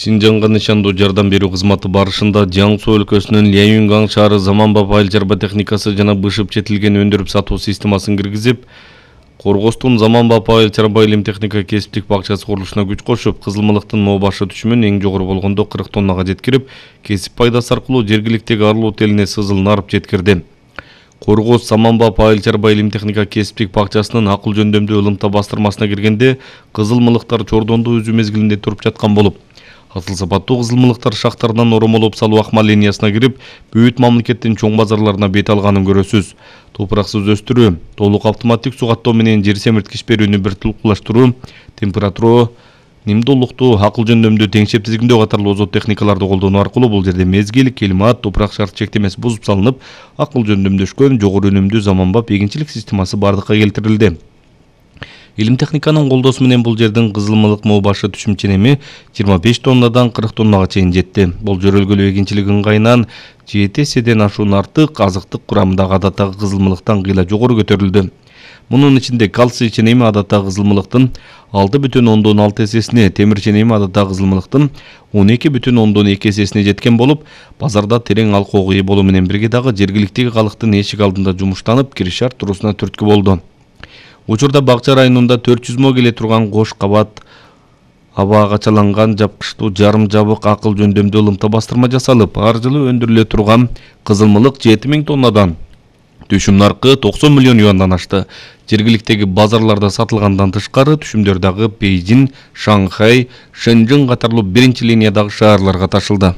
Шинжанга нишандуу жардам берүү кызматы барышында Жаңсу өлкөсүнүн Ляюнгаң шаары заманбап айыл чарба техникасы жана бышып четилген өндүрүп сатуу системасын киргизип, Коргостун заманбап айыл чарба илим техника кесиптик бакчасы курулушуна күч кошуп, кызылмылыктын моо башы түшүмүн эң жогору болгондо 40 тоннага жеткирип, кесип пайдасы аркылуу жергиликтеги арылуу телине сызылын арып жеткирди. Коргоз заманбап айыл чарба илим техника кесиптик бакчасынын акыл жөндөмдүү ылымта бастырмасына киргенде кызылмылыктар чордондо үзүү мезгилинде туруп жаткан болуп, асыл сапаттуу кызылмылыктар шахтардан оромолоп салуу акма линиясына кирип, бүт мамлекеттин чоң базарларына бет алганын көрөсүз. Топураксыз өстүрүү, толук автоматтик суу каттоо менен жер семирткич берүүнү бир тулкулаштыруу, температура, нимдүүлүктү, акыл жөндөмдүү теңшеп тизгиндөө катарлуу озот техникаларды колдонуу аркылуу бул жерде мезгил, климат, топурак шарт чектемеси бузуп салынып, акыл жөндөмдөшкөн жогору өнүмдүү заманбап эгинчилик системасы бардыкка келтирилди. Илим техниканын колдоосу менен бул жердин кызылмылык моо башы түшүм ченеми 25 тоннадан 40 тоннага чейин жетти. Бул жөрөлгөлүү эгинчилик ыңгайынан 7 эседен ашуун артык азыктык курамындагы адаттагы кызылмылыктан кыйла жогору көтөрүлдү. Мунун ичинде кальций ченеми адаттагы кызылмылыктын 6,6 эсесине, темир ченеми адаттагы кызылмылыктын 12,2 эсесине жеткен болуп, базарда терең алкоого ээ болуу менен бирге дагы жергиликтеги калктын эшик алдында жумуштанып, кириш арттыруусуна түрткү болду. Учурда бакча районунда 400 мо келе турган кош кабат аба качаланган жапкычтуу жарым жабык акыл жөндөмдүү ылымта бастырма жасалып, ар жылы өндүрүлө турган кызылмылык 7000 тоннадан түшүм наркы 90 миллион юандан ашты. Жергиликтеги базарларда сатылгандан тышкары түшүмдөр дагы Бейжин, Шанхай, Шэньчжэн катарлуу биринчи линиядагы шаарларга ташылды.